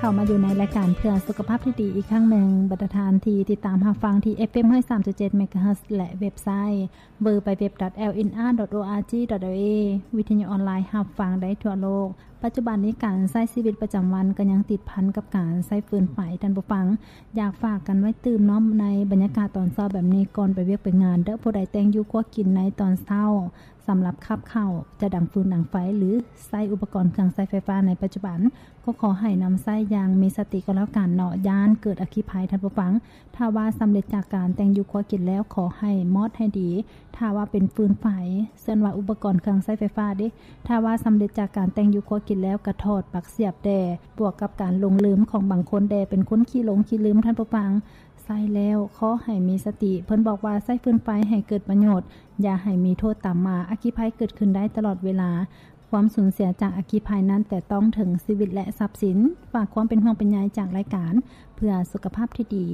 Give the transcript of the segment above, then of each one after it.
ເຂົ້າມາຢູ່ໃນລາຍການເພື່ອສຸຂະພາບທີ່ດີອີກຄັ້ງໜຶ່ງ. ບັນດາທ່ານທີ່ຕິດຕາມຮັບຟັງທີ່ ເອັຟເອັມ ຮ້ອຍສາມຈຸດເຈັດ ເມກາເຮີດ ແລະ ເວັບໄຊ ดัບເບິນຢູດັບເບິນຢູດັບເບິນຢູ ດອດ ເອລ ເອນ ອາ ດອດ ໂອ ອາ ຈີ ດອດ ເອລ ເອ ວິທະຍຸອອນລາຍຮັບຟັງໄດ້ທົ່ວໂລກ. ປັດຈຸບັນນີ້ການໃຊ້ຊີວິດປະຈຳວັນກໍຍັງຕິດພັນກັບການໃຊ້ຟືນໄຟ. ທ່ານຜູ້ຟັງ, ຢາກຝາກກັນໄວ້ຕື່ມເນາະ, ໃນບັນຍາກາດຕອນເຊົ້າແບບນີ້ ກ່ອນໄປວຽກໄປງານເດີ້, ຜູ້ໃດແຕ່ງຢູ່ຄົວກິນໃນຕອນເຊົ້າ ສຳລັບຂັບເຂົ້າ, ຈະດັງຟືນດັງໄຟ ຫຼື ໃຊ້ອຸປະກອນເຄື່ອງໃຊ້ໄຟຟ້າໃນປັດຈຸບັນ ກໍຂໍໃຫ້ນຳໃຊ້ຢ່າງມີສະຕິກໍແລ້ວກັນເນາະ, ຢ້ານເກີດອັກຄີໄພ. ທ່ານຜູ້ຟັງ, ຖ້າວ່າສຳເລັດຈາກການແຕ່ງຢູ່ຄົວກິນແລ້ວ, ຂໍໃຫ້ມອດໃຫ້ດີ. ຖ້າວ່າເປັນຟືນໄຟ, ສ່ວນວ່າອຸປະກອນເຄື່ອງໃຊ້ໄຟຟ້າເດ, ຖ້າວ່າສຳເລັດຈາກການແຕ່ງຢູ່ຄົວກິນແລ້ວ, ກະຖອດປັກສຽບແດ່. ບວກກັບການຫຼົງລືມຂອງບາງຄົນແດ່, ເປັນຄົນຂີ້ຫຼົງຂີ້ລືມ. ທ່ານຜູ້ຟັງ, ໃຊ້ແລ້ວຂໍໃຫ້ມີສະຕິ. ເພິ່ນບອກວ່າໃຊ້ຟືນໄຟໃຫ້ເກີດປະໂຫຍດ, ຢ່າໃຫ້ມີໂທດຕາມມາ. ອັກຄີໄພເກີດຂຶ້ນໄດ້ຕະຫຼອດເວລາ. ຄວາມສູນເສຍຈາກອັກຄີໄພນັ້ນແຕະຕ້ອງເຖິງຊີວິດ ແລະ ຊັບສິນ. ຝາກຄວາມເປັນຫ່ວງເປັນໃຍຈາກລາຍການເພື່ອສຸຂະພາບທີ່ດີ.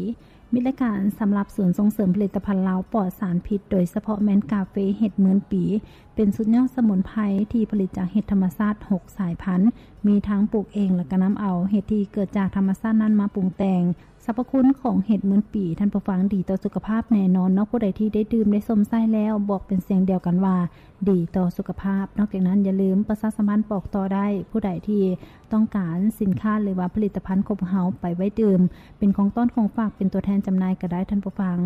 ມີລາຍການສຳລັບສູນສົ່ງເສີມຜະລິດຕະພັນລາວປອດສານພິດ, ໂດຍສະເພາະແມ່ນກາເຟເຫັດໝື່ນປີ, ເປັນສຸດຍອດສະໝຸນໄພທີ່ຜະລິດຈາກເຫັດທຳມະຊາດຫົກສາຍພັນ, ມີທັງປູກເອງ ແລະ ກໍນຳເອົາເຫັດທີ່ເກີດຈາກທຳມະຊາດນັ້ນມາປຸງແຕ່ງ. ສັບພະຄຸນຂອງເຫັດໝື່ນປີ, ທ່ານຜູ້ຟັງ, ດີຕໍ່ສຸຂະພາບແນ່ນອນເນາະ. ຜູ້ໃດທີ່ໄດ້ດື່ມໄດ້ຊົມໃຊ້ແລ້ວ ບອກເປັນສຽງດຽວກັນວ່າ ດີຕໍ່ສຸຂະພາບ. ນອກຈາກນັ້ນ, ຢ່າລືມປະຊາສຳພັນບອກຕໍ່ໄດ້. ຜູ້ໃດທີ່ຕ້ອງການສິນຄ້າ ຫຼືວ່າຜະລິດຕະພັນຂອງພວກເຮົາໄປໄວ້ດື່ມ ເປັນຂອງຕ້ອນຂອງຝາກ, ເປັນຕົວແທນຈຳໜ່າຍກໍໄດ້. ທ່ານຜູ້ຟັງ,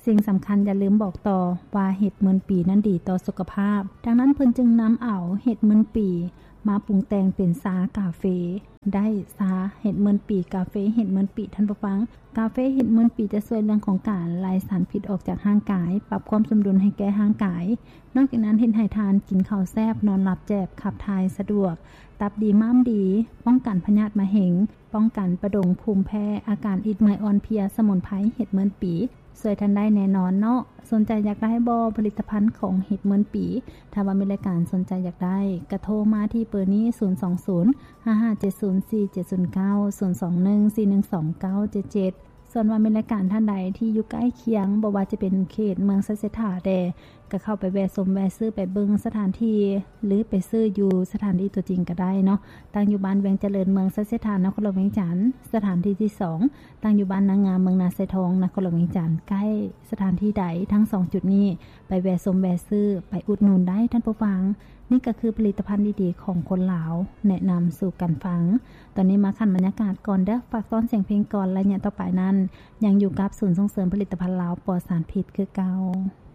ສິ່ງສຳຄັນຢ່າລືມບອກຕໍ່ວ່າເຫັດໝື່ນປີນັ້ນດີຕໍ່ສຸຂະພາບ. ດັ່ງນັ້ນເພິ່ນຈຶ່ງນຳເອົາເຫັດໝື່ນປີມາປຸງແຕ່ງເປັນຊາກາເຟ. ໄດ້ຊາເຫັດໝື່ນປີ, ກາເຟເຫັດໝື່ນປີ. ທ່ານຜູ້ຟັງ, ກາເຟເຫັດໝື່ນປີຈະຊ່ວຍເລື່ອງຂອງການໄລ່ສານພິດອອກຈາກຮ່າງກາຍ, ປັບຄວາມສົມດຸນໃຫ້ແກ່ຮ່າງກາຍ. ນອກຈາກນັ້ນ, ເຮັດໃຫ້ທ່ານກິນເຂົ້າແຊບ, ນອນຫຼັບແຈບ, ຂັບຖ່າຍສະດວກ, ຕັບດີ, ມ້າມດີ, ປ້ອງກັນພະຍາດມະເຮັງ, ປ້ອງກັນປະດົງ, ພູມແພ້, ອາການອິດເມື່ອຍ, ອ່ອນເພຍ. ສະໝຸນໄພເຫັດໝື່ນປີ ຊ່ວຍທ່ານໄດ້ແນ່ນອນເນາະ. ສົນໃຈຢາກໄດ້ບໍ່ ຜະລິດຕະພັນຂອງເຫັດໝື່ນປີ? ຖ້າວ່າມີລາຍການສົນໃຈຢາກໄດ້ ກະໂທມາທີ່ເບີນີ້ ສູນສອງສູນ ຫ້າຫ້າເຈັດສູນ ສີ່ເຈັດສູນເກົ້າ ສູນສອງໜຶ່ງ ສີ່ໜຶ່ງສອງ ເກົ້າເຈັດເຈັດ. ສ່ວນວ່າມີລາຍການທ່ານໃດທີ່ຢູ່ໃກ້ຄຽງ, ບໍ່ວ່າຈະເປັນເຂດເມືອງໄຊເສດຖາແດ່, ກໍເຂົ້າໄປແວະຊົມແວະຊື້, ໄປເບິ່ງສະຖານທີ່ ຫຼື ໄປຊື້ຢູ່ສະຖານທີ່ຕົວຈິງກໍໄດ້ເນາະ. ຕັ້ງຢູ່ບ້ານວຽງຈະເລີນ, ເມືອງໄຊເສດຖາ, ນະຄອນຫຼວງວຽງຈັນ. ສະຖານທີ່ທີສອງ ຕັ້ງຢູ່ບ້ານນາງາມ, ເມືອງນາຊາຍທອງ, ນະຄອນຫຼວງວຽງຈັນ. ໃກ້ສະຖານທີ່ໃດ ທັງສອງຈຸດນີ້ ໄປແວະຊົມແວະຊື້, ໄປອຸດໜູນໄດ້, ທ່ານຜູ້ຟັງ. ນີ້ກໍຄືຜະລິດຕະພັນດີໆຂອງຄົນລາວ ແນະນຳສູ່ກັນຟັງ. ຕອນນີ້ມາຂັ້ນບັນຍາກາດກ່ອນເດີ້, ຝາກຕ້ອນສຽງເພງກ່ອນ. ໄລຍະຕໍ່ໄປນັ້ນ ຍັງຢູ່ກັບສູນສົ່ງເສີມຜະລິດຕະພັນລາວປອດສານພິດຄືເກົ່າ.